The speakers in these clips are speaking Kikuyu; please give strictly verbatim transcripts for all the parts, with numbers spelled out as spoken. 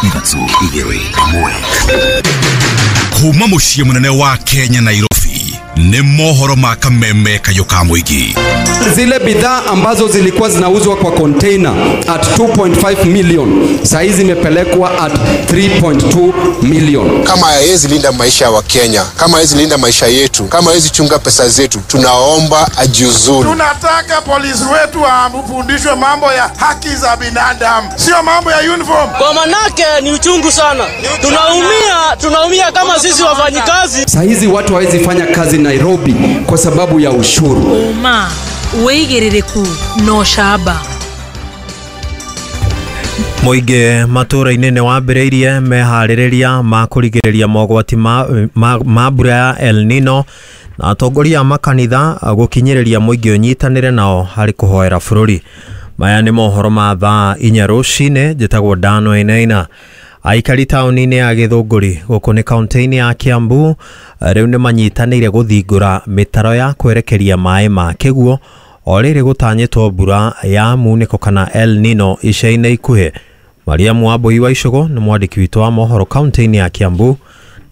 Ithatũ, igĩrĩ, ĩmwe. Kuma mũciĩ mũnene wa Kenya, Nairobi, nĩ mohoro ma Kameme Kayũ ka Mũingĩ. Zile bidhaa ambazo zilikuwa zinauzwa kwa container at two point five million, saa hizi zimepelekwa at three point two million. Kama hawezi linda maisha ya Wakenya, kama hawezi linda maisha yetu, kama hawezi chunga pesa zetu, tunaomba ajiuzulu. Tunataka polisi wetu wafundishwe mambo ya haki za binadamu, sio mambo ya uniform. Kwa manake ni uchungu sana, tunaumia, tunaumia kama sisi wafanyikazi. Saa hizi watu hawezi fanya kazi Nairobi kwa sababu ya ushuru. Ũma, wĩigĩrĩrĩku na ũcamba. Mũingĩ matũũra-inĩ nĩ wambĩrĩirie meharĩrĩria ma kũrigĩrĩria mogwati ma, ma, ma mbura ya El Nino, na atongoria a makanitha gũkinyĩrĩria mũingĩ ũnyitanĩre nao harĩ kũhoera bũrũri. Maya nĩ mohoro ma thaa inya rũcinĩ. Njĩtagwo Dano Enaina. Aikari taũni-inĩ ya Gĩthũngũri, gũkũ nĩ kaũntĩ-inĩ ya Kiambu, rĩu nĩ manyitanĩire gũthingũra mĩtaro ya kwerekeria maĩ ma kĩguo o rĩrĩ gũtanyĩtwo mbura ya munĩko kana El Nino ica-inĩ ikuhĩ. Mariamu Wambui wa Icũgũ nĩ mwandĩki witũ wa mohoro kaũntĩ-inĩ ya Kiambu,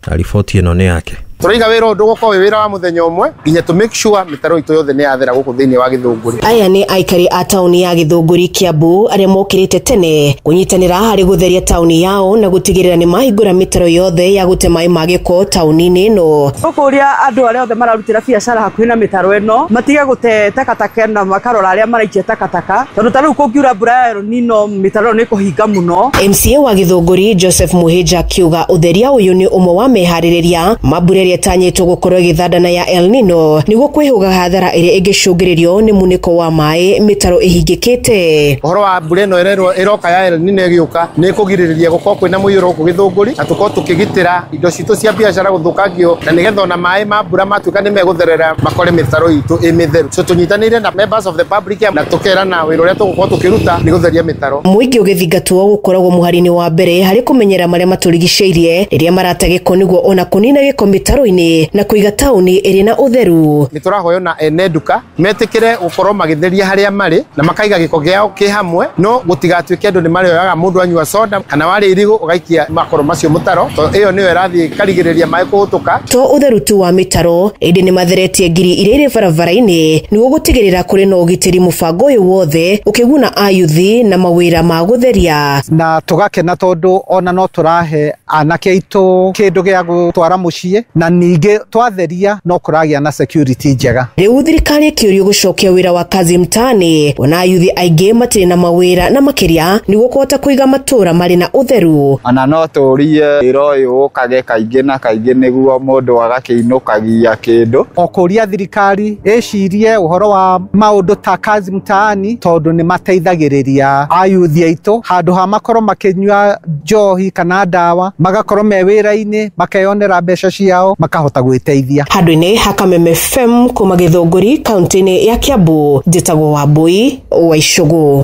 na riboti ĩno nĩ yake. Tũraiga wĩra ũyũ ndũgũkorwo wĩ wĩra wa mũthenya ũmwe nginya tũ make sure mĩtaro itũ yothe nĩ yathera gũkũ thĩinĩ wa Gĩthũngũri. Aya nĩ aikari a taũni ya Gĩthũngũri, Kiambu, arĩa mokĩrĩte tene kũnyitanĩra harĩ gũtheria taũni yao na gũtigĩrĩra nĩ mahingũra mĩtaro yothe ya gũte maĩ ma gĩko taũni-inĩ ĩno. Tũkũria andũ arĩa othe mararutĩra biacara hakuhĩ na mĩtaro ĩno matige gũte takataka na makarora arĩa maraikia takataka, tondũ ta rĩu kũngiura mbura ya El Nino, mĩtaro ĩno nĩ ĩkũhinga mũno. M C A wa Gĩthũngũri Joseph Muhĩnja akiuga ũtheria ũyũ nĩ ũmwe wa meharĩrĩria ma mbura ĩrĩa ĩtanyĩtwo gũkorwo ĩgĩthandana ya El Nino, nĩguo kwĩhũga hathara ĩrĩa ĩngĩcũngĩrĩrio nĩ munĩko wa maĩ mĩtaro ĩhingĩkĩte. Ũhoro wa mbura ĩno ĩrerwo ĩroka ya El Nino ĩgĩũka nĩ ĩkũgirĩrĩria gũkorwo kwĩna mũiyũro gũkũ Gĩthũngũri, na tũkorwo tũkĩgitĩra indo citũ cia biacara gũthũkangio, na nĩgetha ona maĩ ma mbura matuĩka nĩ megũtherera makore mĩtaro itũ ĩ mĩtheru. So tũnyitanĩire na members of the public na tũkerana wĩra ũrĩa tũgũkorwo tũkĩruta nĩ gũtheria mĩtaro. Mũingĩ ũgĩthingatwo gũkoragwo mũhari-inĩ wa mbere harĩ kũmenyera marĩa matũrigicĩirie rĩrĩa marate gĩko, nĩguo ona kũnina gĩko mĩtaro-inĩ na kũiga taũni ĩrĩ na ũtheru. Nĩ tũrahoya ona ene nduka metĩkĩre gũkorwo magĩtheria harĩa marĩ na makaiga gĩko gĩao kĩ hamwe, no gũtigatuĩke andũ nĩ marĩoyaga mũndũ anyua soda kana warĩa irigũ ũgaikia makoro macio mũtaro, tondũ ĩyo nĩyo ĩrathiĩ ĩkarigĩrĩria maĩ kũhĩtũka. To ũtheru tu wa mĩtaro, ĩndĩ nĩ matheretie ngiri iria irĩ barabara-inĩ nĩguo gũtigĩrĩra kũrĩ na ũgitĩri, mũbango ũyũ wothe ũkĩguna ayuthi na mawĩra ma gũtheria. Na tũgakena tondũ ona no tũrahe anake aitũ kĩndũ gĩa gũtwara mũciĩ, na ningĩ twatheria no kũragĩa na security njega. Rĩu thirikari ĩkĩũrio gũcokia wĩra wa kazi mtaani, ona ayuthi aingĩ matirĩ na mawĩra, na makĩria nĩguo kũhota kũiga matũũra marĩ na ũtheru. Ona no tũrie wĩra ũyũ ũkage kaingĩ na kaingĩ nĩguo mũndũ agakĩinũkagia kĩndũ. O kũria thirikari ĩcirie ũhoro wa maũndũ ta kazi mtaani, tondũ nĩ mateithagĩrĩria ayuthi aitũ handũ ha makorwo makĩnyua njohi kana ndawa, magakorwo me wĩra-inĩ, makeyonera mbeca ciao, makahota gwĩteithia. Handũ-inĩ ha Kameme F M kuma Gĩthũngũri, kaũntĩ-inĩ ya Kiambu, njĩtagwo Wambui wa Icũgũ.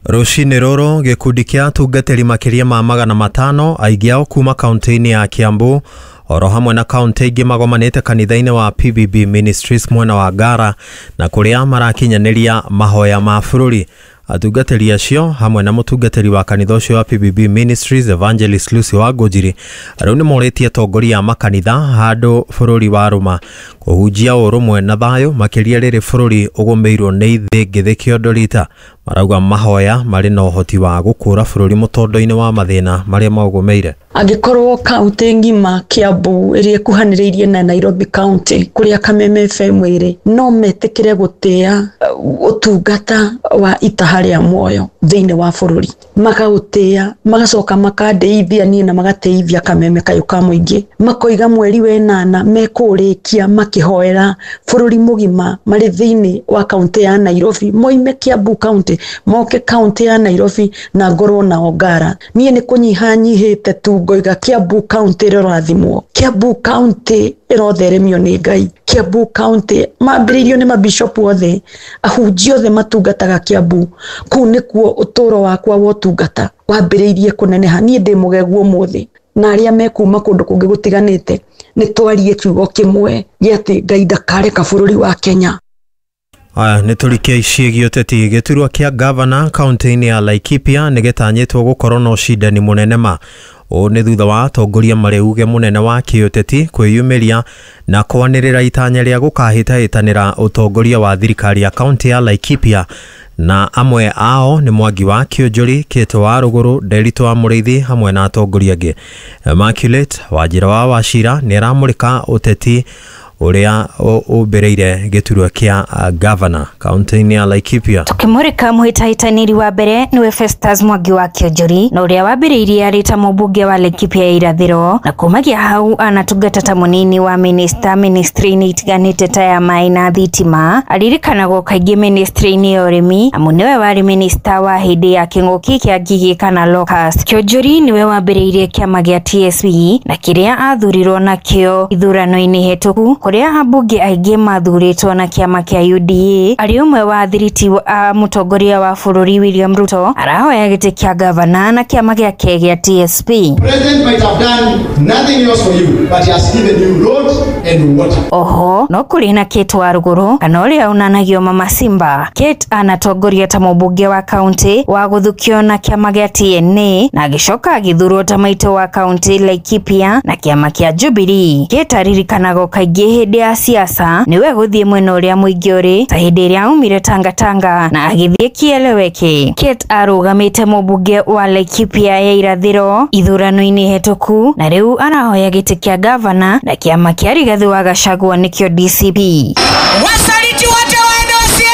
Rũcinĩ rũrũ, gĩkundi kĩa atungatĩri makĩria ma magana matano, aingĩ ao kuma kaũntĩ-inĩ ya Kiambu oro hamwe na kaũntĩ ingĩ, magomanĩte kanitha-inĩ wa P B B Ministries mwena wa Ngara, na kũrĩa marakinyanĩria mahoya ma bũrũri. Atungatĩri acio hamwe na mũtungatĩri wa kanitha ũcio wa P B B Ministries, Evangelist Lucy Wangũnjiri, rĩu nĩ morĩtie atongoria a makanitha handũ bũrũri wa rũma kũhunjia ũrũmwe na thayũ, makĩria rĩrĩ bũrũri ũgũmĩirwo nĩ ithĩngĩthĩ kĩondo rita. Marauga mahoya marĩ na ũhoti wa gũkũra bũrũri mũtondo-inĩ wa mathĩna marĩa maũgũmĩire. Angĩkorwo kaunti ng'ima Kiambu ĩrĩa ĩkuhanĩrĩirie na Nairobi County, kũrĩa Kameme F M ĩrĩ, no metĩkĩre gũtĩa uh, ũtungata wa itaha rĩa muoyo thĩinĩ wa bũrũri, makaũtĩa, magacoka makandĩithia niĩ na magatĩithia Kameme Kayũ ka Mũingĩ, makoiga mweri wenana mekũũrĩkia makĩhoera bũrũri mũgima marĩ thĩinĩ wa kaunti ya Nairobi, moime Kiambu County moke kaunti ya Nairobi na ngorwo nao Ngara. Niĩ nĩ kũnyiha nyihĩte tu ngoiga Kiambu County ĩrorathimwo, Kiambu County ĩrotheremio nĩ Ngai. Kiambu County mambĩrĩirio nĩ mabishopu othe, ahunjia othe matungataga Kiambu. Kũu nĩkuo ũtũũro wakwa wa ũtungata wambĩrĩirie kũneneha. Niĩ ndĩ mũgegu ũmũthĩ na arĩa mekuma kũndũ kũngĩ gũtiganĩte nĩ twarie kiugo kĩmwe gĩa atĩ Ngai ndakareka bũrũri wa Kenya. Aya nĩ tũrikie ciĩgiĩ ũteti. Gĩturwa kĩa gavana kaunti-inĩ ya Laikipia nĩ gĩtanyĩtwo gũkorwo na ũcindani mũnene ma. Ũũ nĩ thutha wa atongoria marĩ uge mũnene wa kĩũteti kwĩyumĩria na kwanĩrĩra itanya rĩa gũkahĩtahĩtanĩra ũtongoria wa thirikari ya kaunti ya Laikipia, na amwe ao nĩ Mwangi wa Kĩũnjũri, Kĩtũ wa Rũgũrũ, Nderitu wa Mũrĩithi hamwe na atongoria angĩ. Immaculate Wanjĩra wa Wachira nĩ aramũrĩka ũteti ũrĩa ũmbĩrĩire gĩturwa kĩa gavana kaunti-inĩ ya Laikipia. Tukimurika muhĩtahĩtanĩri wa mbere niwe Festus Mwangi wa Kĩonjori, na ũrĩa wambĩrĩirie arĩ ta mũmbunge wa Laikipia ya irathĩro, na kumagia hau anatungata ta mũnini wa minista ministry-inĩ itiganĩte ta ya maĩ na thitima. Aririkanagwo kaingĩ ministry-inĩ ya ũrĩmi, amu nĩwe warĩ minista wa hĩndĩ ya kĩng'ũki kĩa ngigĩ kana locust. Kĩonjori nĩwe wambĩrĩirie kĩama gĩa T S P na kĩrĩa athurirwo nakĩo ithurano-inĩ hĩtũku, kũrĩa ambunge aingĩ mathurĩtwo na kĩama kĩa U D A. Arĩ ũmwe wa athiriti a mũtongoria wa bũrũri William Ruto, arahoya gĩtĩ kĩa gavana na kĩama gĩake gĩa T S P. President might have done nothing else for you, but he has given you roads and water. Oho no kũrĩ na Kate wa Rũgũrũ, kana ũrĩa unanagio Mama Simba. Kate anatongoria ta mũmbunge wa kaunti wa gũthukio na kĩama gĩa T N A, na agĩcoka agĩthurwo ta maitũ wa kaunti Laikipia na kĩama kĩa Jubilee. Kate aririkanagwo kaingĩ hĩndĩ ya siasa niwe gũthiĩ mwena ũrĩa mũingĩ ũrĩ, ta hĩndĩ ĩrĩa aumire Tangatanga na agĩthiĩ Kieleweke. Kate arũgamĩte mũmbunge wa Laikipia ya irathĩro ithurano-inĩ hĩtũku, na rĩu arahoya gĩtĩ kĩa gavana na kĩama kĩa Rigathi wa Gachagua nĩkĩo D C P. Wasaliti wote waende wasiende.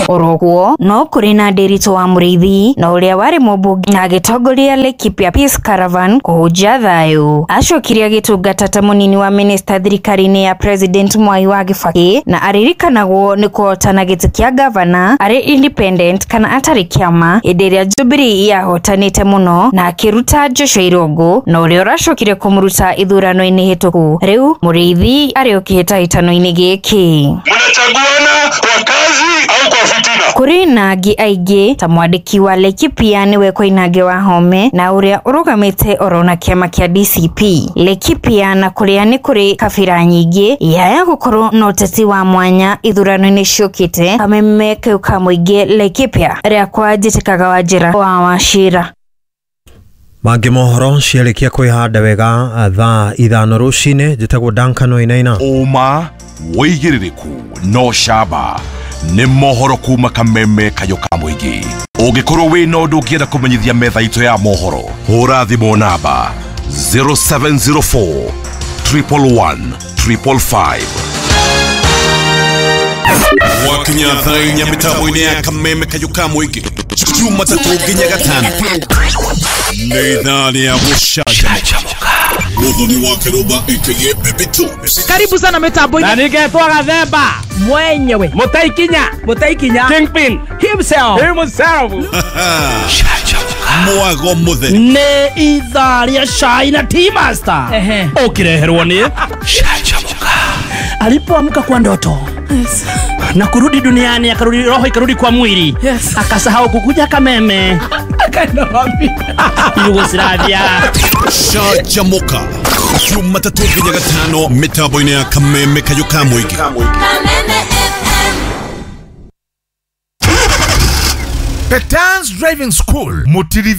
Oroguo no kũrĩ na Nderitu wa Mũrĩithi, na ũrĩa warĩ mũmbunge na agĩtongoria Laikipia Peace Caravan kũhunjia thayũ. Acokire agĩtungata ta mũnini wa minista thirikari-inĩ ya President Mwai wa Kibaki, na aririkanagwo nĩ kũhotana gĩtĩ kĩa gavana arĩ independent kana atarĩ kĩama hĩndĩ ĩrĩa Jubilee yahotanĩte mũno, na akĩruta Joshua Irũngũ, na ũrĩa ũracokire kũmũruta ithurano-inĩ hĩtũku. Rĩu Mũrĩithi arĩ kĩhĩtahĩtano-inĩ gĩkĩ. Mnachaguana kwa kazi au kwa fitina? Kũrĩ na angĩ aingĩ ta mwandĩki wa Laikipia nĩwe Koinange wa Home, na ũrĩa ũrũgamĩte oro na kĩama kĩa D C P. Laikipia na kũrĩa nĩ kũrĩ kabira nyingĩ yaya gũkorwo na ũteti wa mwanya ithurano-inĩ ciũkĩte. Kameme kau ka mũingĩ Laikipia rĩakwa njĩtĩkaga Wanjĩra wa Wachira. Mangĩ mohoro ciarĩkia kwĩhanda wega thaa ithano rũcinĩ. Njĩtagwo Duncan Wainaina. Ũma wĩigĩrĩrĩku no camba nĩ mohoro kuma Kameme Kayo ka mũingĩ. Ũngĩkorwo wĩna ũndũ ũngĩenda kũmenyithia metha itũ ya mohoro, hũra thimũ namba zero seven zero four triple one triple five. Wakinya thaa inya mĩtambo-inĩ ya Kameme Kayo ka mũingĩ, Jumatatũ nginya Gatano nĩ ithaa rĩa gũcanjamũka. Muthoni wa Kiruba aka Baby Tubes. Karibu sana mitambo-inĩ. Na ningetwa Gathemba mwenyewe, Mutaikinya, Mutaikinya Kingpin himself, himself. Mwago mutheri nĩ ithaa rĩa cai na Tea Master ũkĩreherwo nĩ Canjamũka. Alipoamka kwa ndoto, yes, na kurudi duniani, akarudi roho ikarudi kwa mwili, yes, akasahau kukuja Kameme, akaenda wapi? Yugoslavia. Canjamũka Jumatatũ nginya Gatano mĩtambo-inĩ ya Kameme Kayo ka mũingĩ. Kameme F M. Petans Driving School Mutirithi.